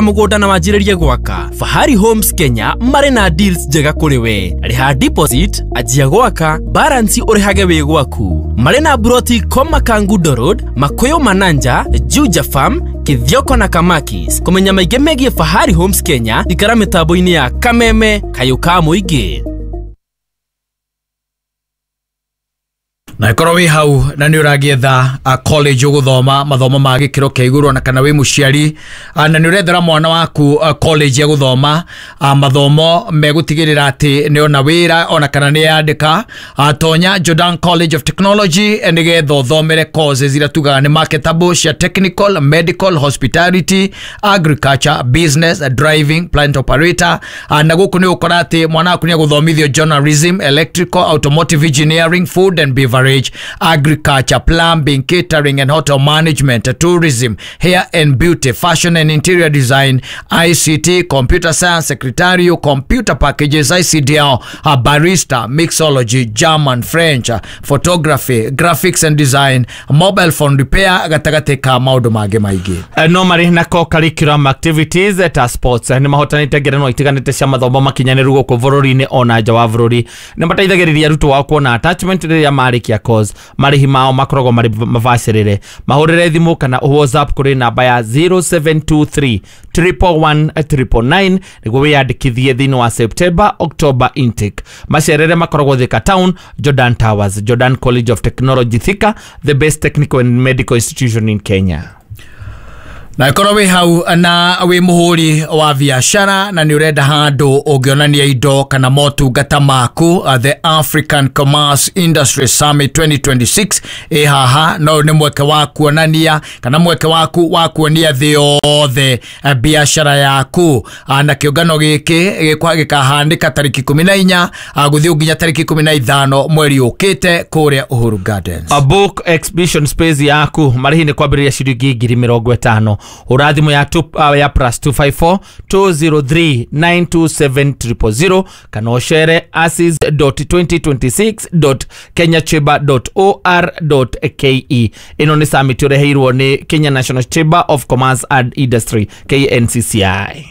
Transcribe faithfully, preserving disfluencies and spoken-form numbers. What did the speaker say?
Mũgũnda na wanjĩrĩrie gwaka. Fahari Homes Kenya marĩ na deals njega kũrĩ we. Rĩha deposit, anjia gwaka, balance ũrĩhage wĩ gwaku. Marĩ na buroti Koma Kangundo Road, Makuyu Mananja, Juja Farm, Kithioko na Kamakis. Kũmenya maingĩ megiĩ Fahari Homes Kenya, ikara mĩtambo-inĩ ya Kameme Kayũ ka Mũingĩ. Na ikorwo wĩ hau na nĩ ũragĩetha college ũgũthoma mathomo ma gĩkĩro kĩa igũrũ, na kana wĩ mũciari na nĩ ũrethera mwana waku college ya gũthoma mathomo megũtigĩrĩra atĩ nĩ ona wĩra ona kana nĩ yandĩka, tonya Jordan College of Technology nĩgetha ũthomere courses iria tugaga nĩ marketable cia technical, medical, hospitality, agriculture, business, driving, plant operator. Na gũkũ nĩ ũkora atĩ mwana waku nĩ agũthomithio journalism, electrical, automotive engineering, food and beverage, agriculture, plumbing, catering and hotel management, tourism, hair and beauty, fashion and interior design, I C T, computer science, secretarial, computer packages, I C D L, barista, mixology, German, French, photography, graphics and design, mobile phone repair, gatagate ka maundu mangĩ maingĩ. No marĩ na co-curriculum activities ta sports nĩ mahotanĩte ngerenwa itiganĩte cia mathomo makinyanĩru gũkũ bũrũri-inĩ ona nja wa bũrũri. Nĩ mateithagĩrĩria arutwo ao kuona attachment rĩrĩa marĩkia course. Marĩhi mao makoragwo marĩ mabacĩrĩre. Mahũrĩre thimũ kana WhatsApp kũrĩ namba ya zero seven two three triple one triple nine nĩguo wĩyandĩkithie thĩinĩ wa September October intake. Macerere makoragwo Thika Town, Jordan Towers, Jordan College of Technology Thika, the best technical and medical institution in Kenya. Na ikorwo wĩ hau na wĩ mũhũri wa biacara na nĩ ũrenda handũ ũngĩonania indo kana motungata maku, the African Commerce Industry Summit twenty twenty-six ĩ haha, no nĩ mweke wa kuonania kana mweke waku wa kuonia thĩ yothe biacara yaku. Na kĩũngano gĩkĩ gĩkahanĩka tarĩki ikũmi na inya gũthiĩ nginya tarĩki ikũmi na ithano mweri ũkĩte kũrĩa Uhuru Gardens. A book exhibition space yaku marĩhi nĩ kwambĩrĩria ciringi ngiri mĩrongo ĩtano. Hũra thimũ ya two, uh, ya plus two five four two zero three nine two seven triple zero kana ũcere asis dot twenty twenty-six dot kenya chamber dot or dot K E. Ĩno nĩ summit ũreheirwo nĩ Kenya National Chamber of Commerce and Industry K N C C I.